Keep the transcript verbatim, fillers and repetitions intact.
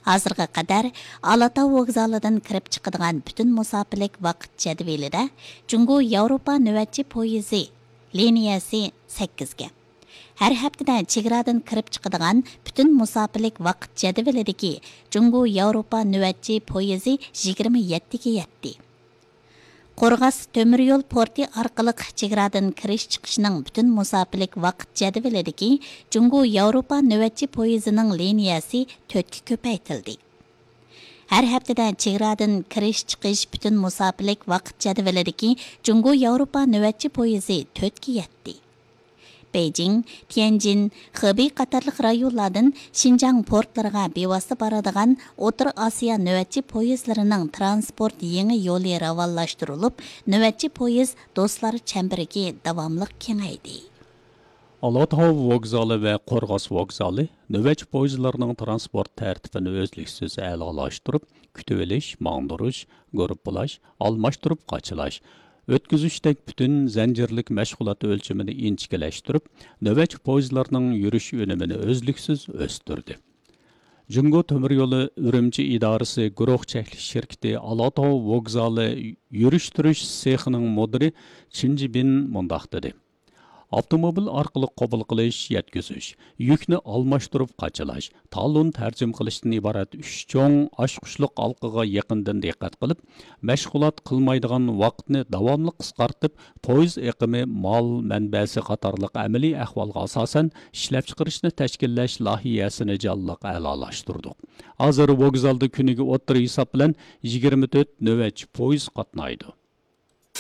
ھازىرغا قەدەر ئالاتاۋ ۋوگزالىدىن كىرىپ چىقىدىغان پۈتۈن مۇساپىلىك ۋاقىت جەدۋىلىدە جۇڭگو ياۋروپا نۆۋەتچى پويىزى لىنىيەسى سەككىزگە، ھەر ھەپتىدە چېگرادىن كىرىپ چىقىدىغان پۈتۈن مۇساپىلىك ۋاقىت جەدۋىلىدىكى جۇڭگو ياۋروپا نۆۋەتچى پويىزى يىگىرمە يەتتىگە يەتتى. قورغاس تۆمۈر يول پورتى ئارقىلىق چېگرادىن كىرىش چىقىشنىڭ پۈتۈن مۇساپىلىك ۋاقىت جەدۋىلىدىكى جۇڭگو ياۋروپا نۆۋەتچى پويىزىنىڭ لىنىيەسى تۆتكە كۆپەيتىلدى. ھەر ھەپتىدە چېگرادىن كىرىش چىقىش پۈتۈن مۇساپىلىك ۋاقىت جەدۋىلىدىكى جۇڭگو ياۋروپا نۆۋەتچى پويىزى تۆتكە يەتتى. بېيجىڭ، تيەنجىن، خېبېي قاتارلىق رايونلاردىن شىنجاڭ پورتلىرىغا بىۋاسىتە بارىدىغان ئوتتۇرا ئاسىيا نۆۋەتچى پويىزلىرىنىڭ ترانسپورت يېڭى يولى راۋانلاشتۇرۇلۇپ، نۆۋەتچى پويىز دوستلار چەمبىرىكى داۋاملىق كېڭەيدى. ئالاتاۋ ۋوگزالى ۋە قورغاس ۋوگزالى نۆۋەتچى پويىزلىرىنىڭ ترانسپورت تەرتىپىنى ئۈزلۈكسىز ئەلالاشتۇرۇپ، كۈتۈۋېلىش، ماڭدۇرۇش، گۇرۇپپىلاش، ئالماشتۇرۇپ قاچىلاش، ئۆتكۈزۈشتەك پۈتۈن زەنجىرلىك مەشغۇلات ئۆلچىمىنى ئىنچىكىلەشتۈرۈپ، نۆۋەتچى پويىزلارنىڭ يۈرۈش ئۈنۈمىنى ئۈزلۈكسىز ئۆستۈردى. جۇڭگو تۆمۈر يولى ئۈرۈمچى ئىدارىسى گۇرۇھ چەكلىك شىركىتى ئالاتاۋ ۋوگزالى يۈرۈشتۈرۈش سېخىنىڭ مۇدىرى چىن جىبىن مۇنداق دېدى: ئاپتوموبىل ئارقىلىق قوبۇل قىلىش، يەتكۈزۈش، يۈكنى ئالماشتۇرۇپ قاچىلاش، تالون تەرجىمە قىلىشتىن ئىبارەت ئۈچ چوڭ ئاچقۇچلۇق ھالقىغا يېقىندىن دىققەت قىلىپ، مەشغۇلات قىلمايدىغان ۋاقىتنى داۋاملىق قىسقارتىپ، پويىز ئېقىمى، مال مەنبەسى قاتارلىق ئەمەلىي ئەھۋالغا ئاساسەن ئىشلەپچىقىرىشنى تەشكىللەش لايىھەسىنى جانلىق ئەلالاشتۇردۇق. ھازىر ۋوگزالدا كۈنىگە ئوتتۇرا ھېساب بىلەن يىگىرمە تۆت نۆۋەتچى پويىز قاتنايدۇ.